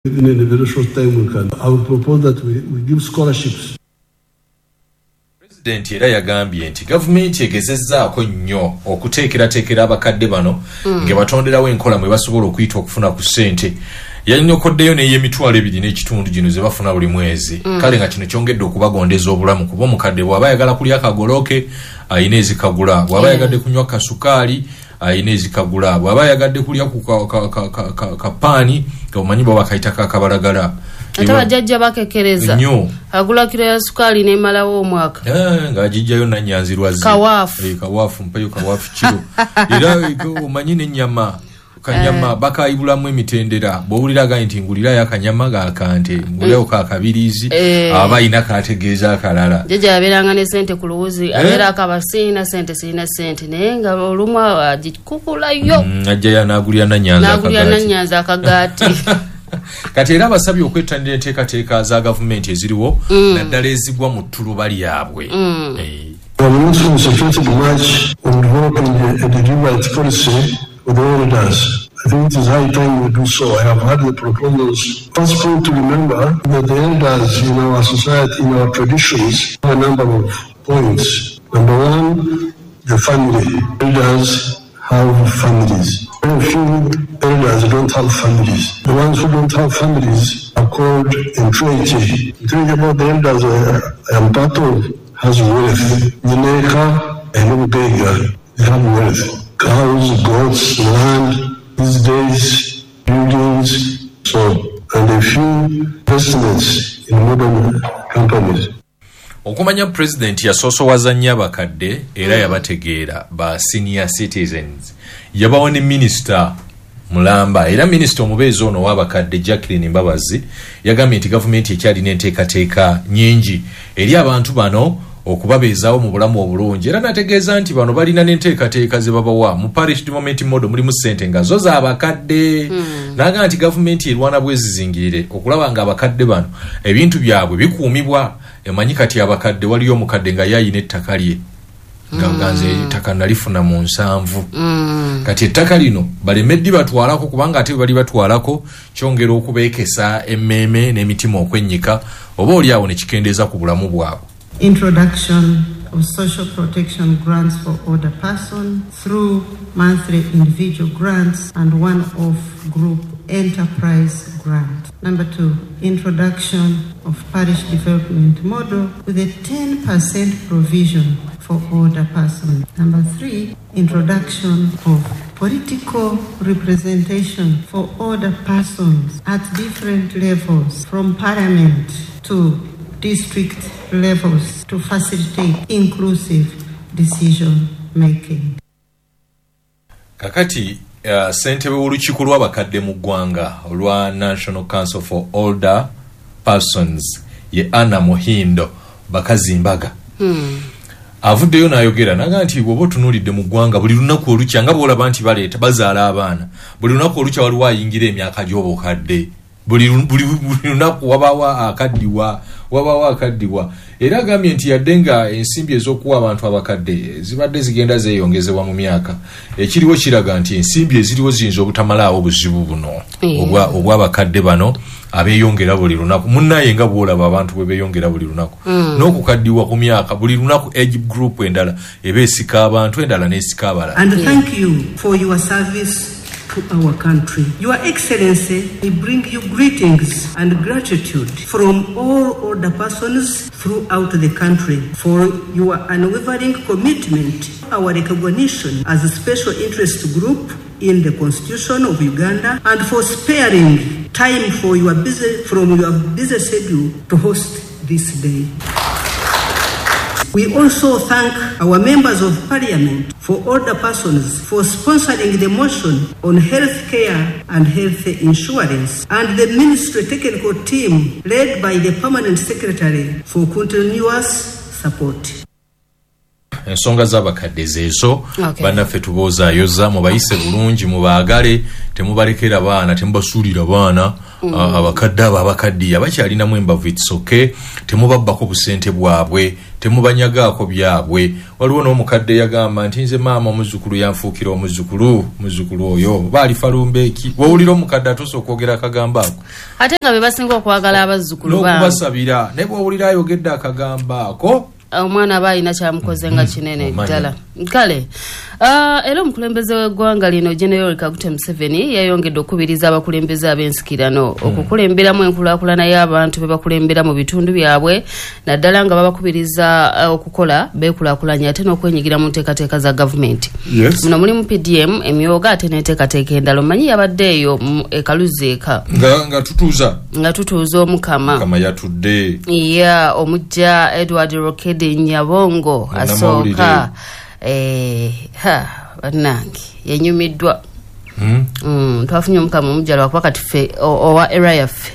Even in a very short time we can. I would propose that we give scholarships. Pulezidenti era yagambye nti gavumenti egezezzaako nnyo okuteekerateekera abakadde bano ng'ebatonderawo enkola mwe basobola okuyita okufuna ku ssente. Yanyokoddeyo n'ey'emitwalo 2.5 gino ze bafuna buli mwezi. Kale nga kino kyongedde okubagondeza obulamu, kuba omukadde bw'aba ayagala kulya kagolooke ayina ezikagula, bw'aba ayagadde kunywa kasukaali ayina ezikagula, bw'aba ayagadde kulya ku kapaani, omanyi bwe bakayita kakabalagala. Ate bajjajja bakekereza. Nnyo. Agula kiro ya sukaali nemalawo omwaka. Ng'agijjayo nanyanzirwazi. Kawaafu. Kawaafu, mpayo kawaafu kiro. Era omanyi n'ennyama, kanyama bakayibulamu emitendera. Bw'owulira agaye nti ngulirayo akanyama gakante, ngulirayo kakabirizi, aba ayina kategeeza akalala. Jjajja yabeeranga ne sente ku luwuzi, abeera akaba siina sente, siina sente, naye nga olumu agikukulayo. Ajjayo n'agulira nanyanza n'agulira akagaati. Nanyanza akagaati. Kati era abasabye okwettanira enteekateeka za gavumenti eziriwo, naddala ezigwa mu ttuluba lyabwe. We have not concentrated much on developing a deliberate policy for the elders. I think it is high time we do so. I have had the proposals. First point to remember that the elders in our society, in our traditions, have a number of points. Number one, the family. Elders have families. Very few elders don't have families. The ones who don't have families are called entreaty. Entreaty about the elders I am part of has wealth. Nyineeka and Obugaiga, they have wealth. Cows, goats, land, these days, buildings, so, and a few investments in modern companies. Okumanya pulezidenti yasoosowaza nnyo abakadde era yabategeera, ba senior citizens yabawa ne minisita mulamba. Era minisita omubeezi ono ow'abakadde Jacqueline Mbabazi yagambye nti gavumenti ekyalina enteekateeka nyingi eri abantu bano okubabeezaawo mu bulamu obulungi, era nategeeza nti bano balina n'enteekateeka ze babawa mu parish development model, mulimu ssente nga zo z'abakadde. N'agamba nti gavumenti erwana bwezizingirire okulaba nga abakadde bano ebintu byabwe bikuumibwa. Emanyi kati abakadde, waliyo omukadde nga yayina ettaka lye nga ganze ettaka nalifuna mu 70. Kati ettaka lino baleme ddi batwalako, kubanga ate bwe bali batwalako kyongera okubeekesa emmeeme n'emitima okwennyika, oba oli awo ne kikendeeza ku bulamu bwabwe. Introduction of social protection grants for older person through monthly individual grants and one-off group enterprise grant. Number two, introduction of parish development model with a 10% provision for older persons. Number three, introduction of political representation for older persons at different levels from parliament to district levels to facilitate inclusive decision making. Kakati ssentebe w'olukiiko lw'abakadde mu ggwanga olwa National Council for Older Persons ye Anna Muhindo Bakazimbaga avuddeyo n'ayogera naga nti bw'oba otunuulidde mu ggwanga, buli lunaku olukya nga bw'olaba nti baleeta bazaala abaana, buli lunaku olukya waliwo ayingira emyaka gy'obukadde. Buli lunaku wabaawo akaddiwa, wabaawo akaddiwa. Era agambye nti yadde nga ensimbi ez'okuwa abantu abakadde zibadde zigenda zeeyongezebwa mu myaka, ekiriwo kiraga nti ensimbi eziriwo ziyinza obutamalaawo obuzibu buno obw'abakadde bano abeeyongera buli lunaku. Munnaye nga bw'olaba abantu bwe beeyongera buli lunaku n'okukaddiwa ku myaka buli lunaku, age group endala eba esika abantu, endala n'esika abalala. And thank you for your service to our country. Your Excellency, we bring you greetings and gratitude from all older persons throughout the country for your unwavering commitment, our recognition as a special interest group in the Constitution of Uganda, and for sparing time from your busy schedule to host this day. We also thank our members of parliament for older persons for sponsoring the motion on health care and health insurance, and the ministry technical team led by the permanent secretary for continuous support. Ensonga z'abakadde zeezo. Bannaffe tuboozaayoza, mubayise bulungi, mubaagale, temubalekera baana, temubasuulira baana. Abakadde abo abakaddiya bakyalinamu embavu, it's okay, temubabbako busente bwabwe, temubanyagaako byabwe. Waliwo n'omukadde yagamba nti nze maama omuzzukulu yanfuukira omuzzukulu, muzzukulu oyo baalifa lumbeeki. Wowulira omukadde atuuse okwogera akagambo ako, ate nga be basinga okwagala abazzukulu baabwe n'okubasabira, naye bw'owulira ayogedde akagambo ako, omwana aba alina kyamukoze nga kinene ddala. Kale era omukulembeze w'eggwanga lino General Kaguta Museveni yayongedde okukubiriza abakulembeze ab'ensikirano okukulemberamu enkulaakulana y'abantu be bakulembera mu bitundu byabwe, naddala nga babakubiriza okukola beekulaakulanya ate n'okwenyigira mu nteekateeka za gavumenti. Muno mulimu PDM, emyoga ate n'enteekateeka endala. Omanyi yabadde eyo e Kaluzi eka nga tutuuza Omukama. Mukama yatudde. Ya omujja Edward Rokedi Nyabongo asooka bannange yenyumiddwa. Twafunye Omukama omujja lwakuba kati ffe owa era yaffe.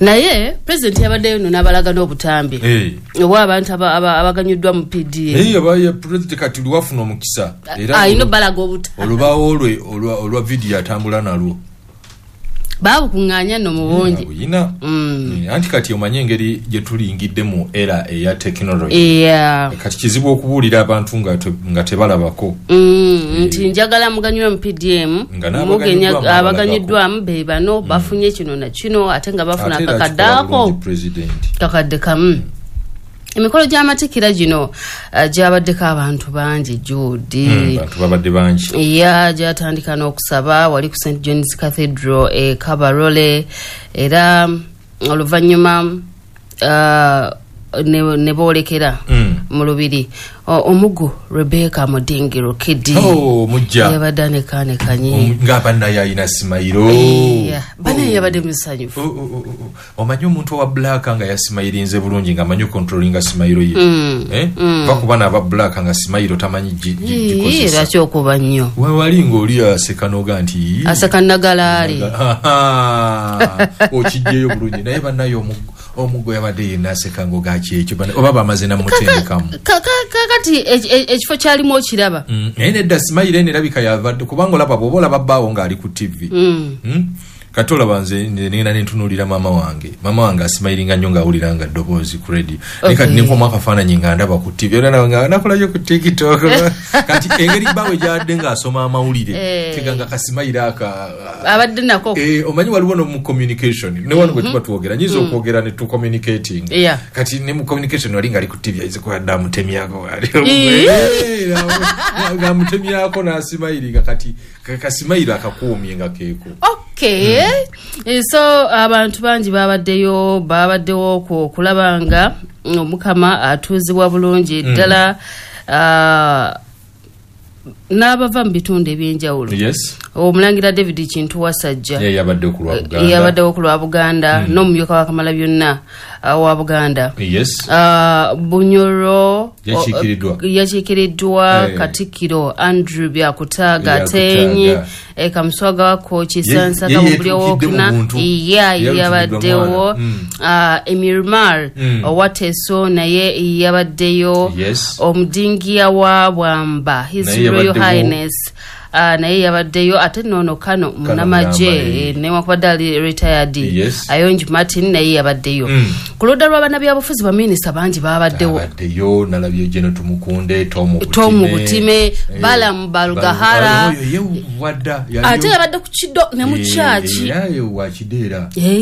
Naye pulezidenti yabaddeyo nno n'abalaga n'obutambi obw'abantu abaganyuddwa mu PDM. Pulezidenti kati lwafuna omukisa era alina obbalaga obutambi, olubaawo lwe olwa vidiyo atambula nalwo baabukuŋŋaanya nno mu bungi. Anti kati omanye engeri gye tulingidde mu era eya tekinologi, kati kizibu okubuulira abantu nga tebalabako. Nti njagala muganyulwe mu PDM, abaganyuddwamu be bano bafunye kino na kino, ate nga bafuna akakadde ako kakadde kamu. Emikolo gy'amatikkira gino gyabaddeko abantu bangi, Jude. Abantu babadde bangi. Ya gyatandika n'okusaba wali ku St John's Cathedral e Kabarole, era oluvannyuma ne boolekera mu lubiri. Omugu Rebecca Mudingi Rokidi yabadde anekanekanye nga bannaye alina simayiro, bannaye yabadde musanyufu. Omanyi omuntu owa black nga yasimayirinze bulungi nga amanyi okontrolinga simayiro ye, va kuba n'aba black nga simayiro tamanyi gikozesa. Lwaki okuba nnyo wali ng'oli aseka n'oga nti aseka nagalaale okijjeyo bulungi, naye bannaye omugo yabadde yenna aseka ng'oga kyekyo oba bamaze namutendekamu. Kakati ekifo kyalimu okiraba. Naye nedda simayiro eno erabika yavadde, kubanga olaba bw'oba olaba bbaawo ng'ali ku TV. Kati olaba nze ngenda nentunuulira maama wange asimayiringa nnyo ng'awulira nga ddoboozi ku radio, naye kati nenkomu akafaananyi nga ndaba ku TV era nga nakolayo ku TikTok. Kati engeri bbaawe gy'adde ng'asoma amawulire tega nga kasimayiro aka abadde nako. Omanyi waliwo no mu communication ne wano bwe tuba twogera nyinza okwogera ne tu communicating, kati ne mu communication wali ng'ali ku TV ayize kwadda amutemyako ng'amutemyako n'asimayiringa, kati kasimayiro akakuumye nga keeko. Okay. So abantu bangi babaddewo okulaba nga Omukama atuuzibwa bulungi ddala, n'abava mu bitundu ebyenjawulo. Omulangira David Kintu Wasajja yabaddewo ku lwa Buganda, n'omumyuka wa Kamalabyonna wa Buganda. Bunyoro yakiikiriddwa Katikkiro Andrew Byakutaaga Atenyi, Kamuswaga wa Kooki Sansa Kabulyowokuna yabaddewo, Emirmar owa Teso naye yabaddeyo, Omudingiya wa Bwamba His Royal Highness naye yabaddeyo, ate noono Kano munnamagye newankubadde ali retired Ayongi Martin naye yabaddeyo. Ku ludda lw'abannabyabufuzi baminisita bangi babaddewo. Nalabye Gen Tumukunde, Tom Butime, Balaam Barugahara, ate yabadde ku Kido ne mu kyaki.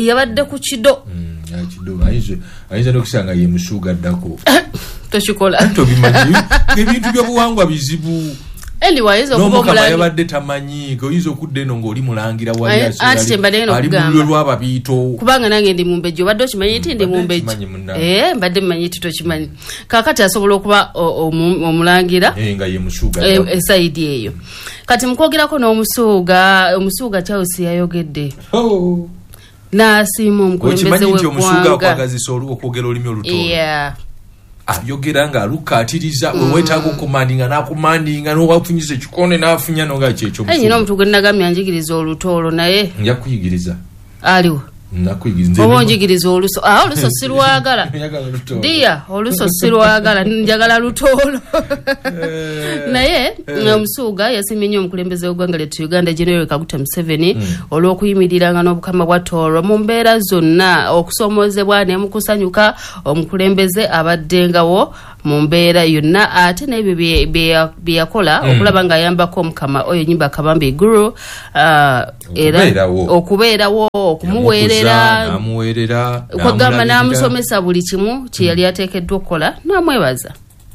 Yabadde ku Kido. Ayinza n'okusanga ye Musuuga addako. Tokikola. Tobimanyi ebintu by'obuwangwa bizibu. Anyway, n'Omukama yabadde tamanyi, oyinza okudda eno ng'oli mulangira wali ali mu lulyo lw'ababiito. Kubanga nange ndi mumbejja, obadde okimanyi nti ndi mumbejja? Mbadde mmanyi nti tokimanyi. Kaakati asobola okuba omulangira nga ye Musuuga esayidi eyo. Kati mukwogerako n'Omusuuga, Omusuuga Charles yayogedde n'asiima omukulembeze Okimanyi nti Omusuuga w'eggwanga. akwagazisa okwogera olulimi Olutooro. Ayogera nga alukaatiriza, weweetaaga okumandinga n'akumandinga, n'owafunyisa ekikone n'afunya n'oga kyekyo. Nyina omuntu gwe nagambye anjigiriza Olutooro naye nja kuyigiriza. Aliwo. Oba onjigiriza oluso. Oluso sirwagala. Dia oluso sirwagala, njagala lutoolo. Naye Omusuuga yasimye nnyo omukulembeze w'eggwanga lyattu Uganda General Kaguta Museveni olw'okuyimiriranga n'obukama bwa Tooro mu mbeera zonna, okusomoozebwa ne mu kusanyuka. Omukulembeze abaddengawo mu mbeera yonna, ate n'ebyo bye yakola okulaba ng'ayambako omukama oyo Nyimba Kabambi Guru, era okubeerawo, okumuweerera, kwegamba n'amusomesa buli kimu kye yali ateekeddwa okukola, n'amwebaza.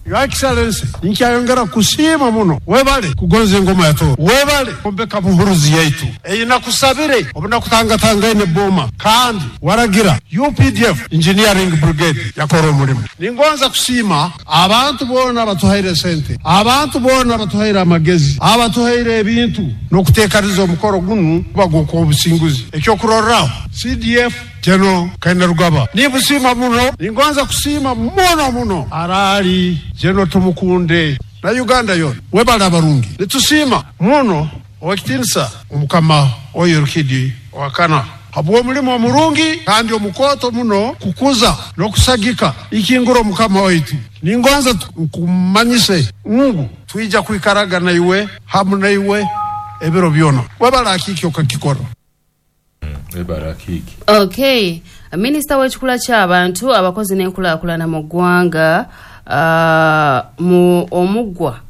Your Excellency, nkyayongera kusiima muno. Webale kugonza engoma ya Tooro. Webale kumbeka buhuruzi yaitu. Eyinakusabire obunakutangatanga ene boma. Kandi waragira UPDF Engineering Brigade yakora omulimu. Ningonza kusiima abantu boona batuhaire sente. Abantu boona batuhaire amagezi. Abatuhaire ebintu n'okuteekaniza omukoro gunu baguko obusinguzi. Ekyokurorraho CDF General Kainerugaba. Nibusiima muno, ningonza kusiima muno muno. Arali General Tumukunde na Uganda yona. Webale abarungi. Nitusiima muno owekitinisa omukama oyo Rukidi owakana. Habwo omulimu omurungi kandi omukoto muno kukuza n'okusagika ikingura omukama waitu. Ningonza nkumanyise ngu twija kwikaraga na iwe hamu na iwe ebiro byona. Webale akiki okakikora. Okay, minisita w'ekikula ky'abantu, abakozi n'enkulaakulana mu ggwanga, mu omuggwa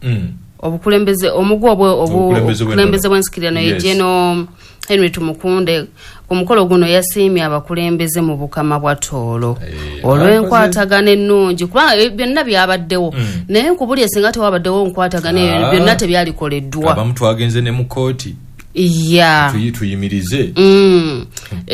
obukulembeze omuggwa obukulembeze bw'ensikirano ye General Henry Tumukunde ku mukolo guno yasiimye abakulembeze mu bukama bwa Tooro olw'enkwatagana ennungi, kubanga byonna byabaddewo, naye nkubulye singa tewabaddewo nkwatagana eyo byonna tebyalikoleddwa. Abamu twagenze ne mu kkooti. Tuyimirize.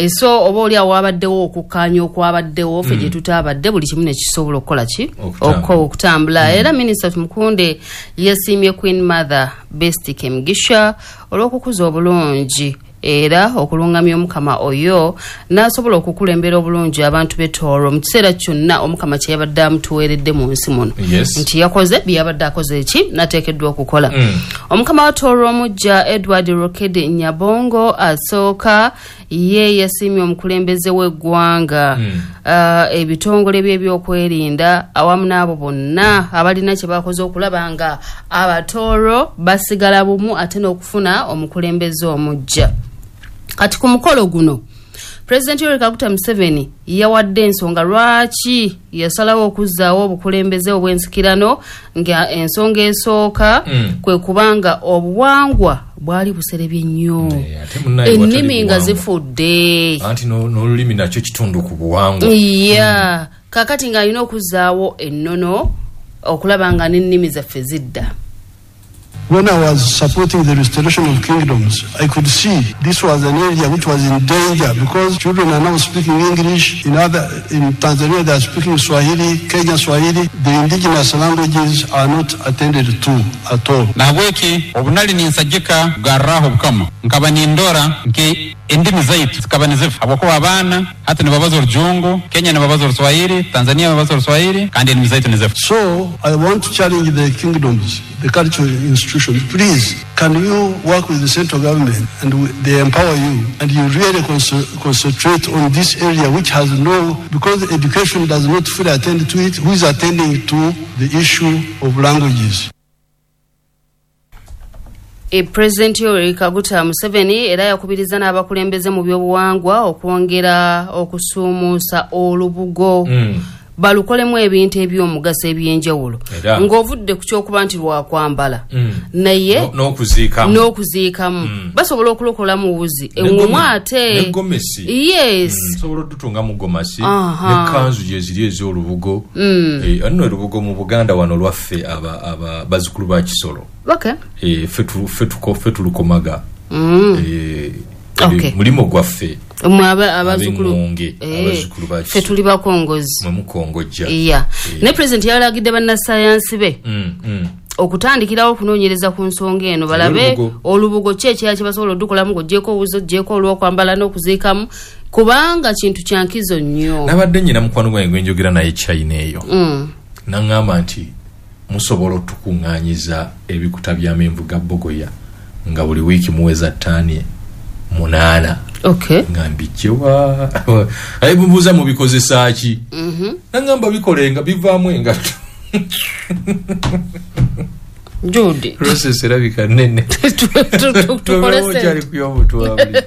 So oba oli awo wabaddewo okukkaanya okwabaddewo ffe gye tutaabadde, buli kimu ne kisobola okukola ki okutambula. Era Minisita Tumukunde yasiimye Queen Mother Best Kemigisha olw'okukuza obulungi era okulungamya omukama oyo n'asobola okukulembera obulungi abantu b'e Tooro mu kiseera kyonna omukama kye yabadde amutuweeredde mu nsi muno, nti yakoze bye yabadde akoze eki n'ateekeddwa okukola. Omukama wa Tooro omuggya Edward Rokedi Nyabongo asooka ye yasiimye omukulembeze w'eggwanga, ebitongole by'ebyokwerinda awamu n'abo bonna abalina kye bakoze okulaba nga Abatooro basigala bumu ate n'okufuna omukulembeze omuggya. Kati ku mukolo guno President Yoweri Kaguta Museveni yawadde ensonga lwaki yasalawo okuzzaawo obukulembeze obw'ensikirano, nga ensonga esooka kwe kubanga obuwangwa bwali buserebye nnyo, ennimi nga zifudde, anti n'olulimi nakyo kitundu ku buwangwa. Kakati ng'alina okuzzaawo ennono okulaba nga n'ennimi zaffe zidda. When I was supporting the restoration of kingdoms, I could see this was an area which was in danger because children are now speaking English. In Tanzania they are speaking Swahili, Kenya Swahili. The indigenous languages are not attended to at all. Nahabweki obunali ninsagika kugarraho obukama nkaba nindora nki endimi zaitu zikaba nizifa habwokuba abaana hati nibabaza Orujungu, Kenya nibabaza Oruswahili, Tanzania nibabaza Oruswahili, kandi endimi zaitu nizifa. So I want to challenge the kingdoms, the cultural institutions. Please, can you work with the central government and they empower you and you really concentrate on this area which has no, because education does not fully attend to it, who is attending to the issue of languages? President Yoweri Kaguta Museveni era yakubiriza n'abakulembeze mu byobuwangwa okwongera okusuumuusa olubugo, balukolemu ebintu eby'omugaso eby'enjawulo, ng'ovudde ku kyokuba nti lwakwambala, naye n'okuziikamu basobola okulokolamu wuzi eŋŋomu ate yes, sobola odutunga mu gomasi ne kanzu gye ziri ez'olubugo. Nno olubugo mu Buganda wano lwaffe aba bazzukulu ba Kisolo. Ffe tulukomaga. Mulimo gwaffe abazukulu ffe tuli bakongozi, mukongojja. Ne president yalagidde bannasayansi be okutandikirawo okunoonyereza ku nsonga eno, balabe olubugo ki ekirala kye basobola odukolamu ng'oggyeko owuzi, oggyeko olw'okwambala n'okuziikamu, kubanga kintu kya nkizo nnyo. Nabadde nnyina mukwano gwange gwe njogera naye China eyo, naŋŋamba nti musobola otukuŋŋaanyiza ebikuta by'amenvu ga bogoya nga buli wiiki muweza ttaani 8. Okay. Nga mbijjewa aye bubuuza mubikozesa ki? Nangamba bikola enga bivaamu engatto. Judy. Process erabika nnene. Tukole sente. Kyali kuyomuntu wa bulijjo.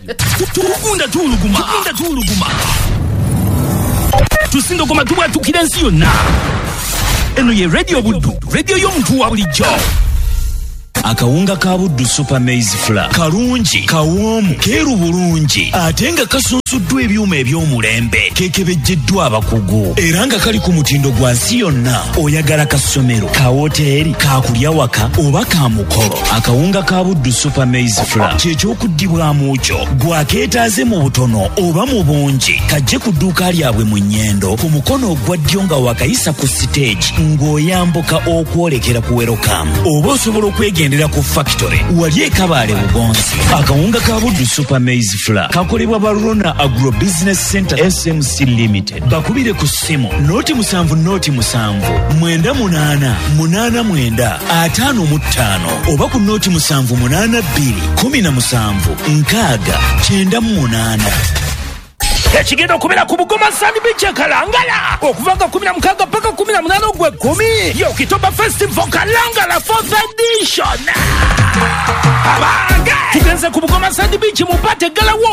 Tugunda tuwuluguma. Tugunda tuwuluguma. Tusindogoma tubwatukira ensi yonna. Eno ye Radio Buddu, radio y'omuntu wa bulijjo. Akawunga ka Buddu Super Maize Flour kalungi, kawoomu, keeru bulungi, ate nga kasunsuddwa ebyuma eby'omulembe, kekebejjeddwa abakugu, era nga kali ku mutindo gwa nsi yonna. Oyagala kasomero, ka woteeri, ka kulya waka oba ka mukolo. Akawunga ka Buddu Super Maize Flour kye ky'okuddibwamu kyo, gwakeetaaze mu butono oba mu bungi. Kajje ku dduuka lyabwe mu Nnyendo ku mukono ogwa ddyo nga wakayisa ku siteegi ng'oyambuka okwolekera ku Welcome, oba osobola okwegendera ku factory wali e Kabaale Bugonzi. Akawunga ka Buddu Super Maize Flour kakolebwa Barona Agro Business Center SMC Limited. Bakubire ku ssimu 07 07 98 89 55 oba ku 07 82 17 6 98. Ekigenda okubeera ku Bugoma Sand Beach e Kalangala okuva nga 16 paka 18 ogw'ekkumi. Ye Okitoba Festival Kalangala 4th edition. Abange tugenze ku Bugoma Sand Beach mu pate galawo.